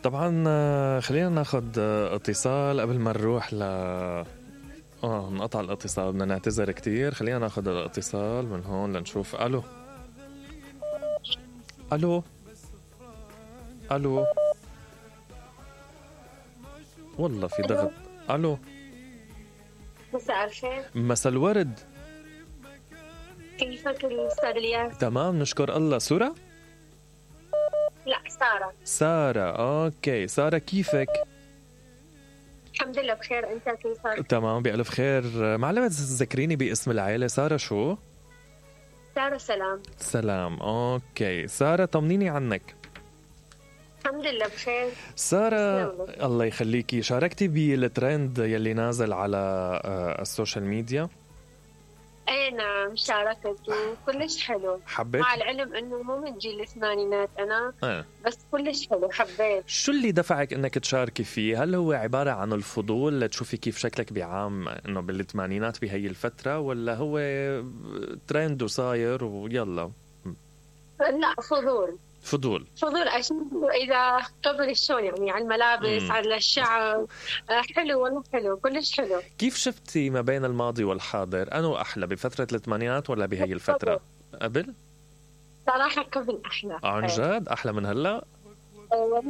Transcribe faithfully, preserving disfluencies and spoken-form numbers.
طبعا آه، خلينا ناخد آه، اتصال قبل ما نروح ل اه نقطع الاتصال. بدنا نعتذر كتير. خلينا ناخد الاتصال من هون لنشوف. الو الو الو والله في ضغط. الو مساء الخير، مساء الورد. كيفك الأستاذ الياس؟ تمام نشكر الله. سورة؟ لا سارة. سارة. اوكي سارة كيفك؟ الحمد لله بخير، أنت كيفك؟ تمام بألف خير. معلمة تذكريني باسم العائلة. سارة شو؟ سارة سلام. سلام. اوكي سارة طمنيني عنك. الحمد لله بخير. سارة تسلملك. الله يخليكي، شاركتي بالترند يلي نازل على آه، السوشيال ميديا؟ اي نعم شاركت وكلش حلو. حبيت؟ مع العلم انه مو من جيل الثمانينات انا، آه. بس كلش حلو حبيت. شو اللي دفعك انك تشاركي فيه؟ هل هو عبارة عن الفضول لتشوفي كيف شكلك بعام انه بالثمانينات بهي الفترة، ولا هو ترند وصاير ويلا؟ لا فضول فضول. فضول اشوف اذا قبل شلون يعني على الملابس مم. على الشعر. آه، حلو والله حلو كلش حلو. كيف شفتي ما بين الماضي والحاضر؟ أنو أحلى، بفترة الثمانينات ولا بهي الفترة؟ قبل؟ صراحة قبل احلى. عن إيه. جد أحلى من هلأ؟ آه،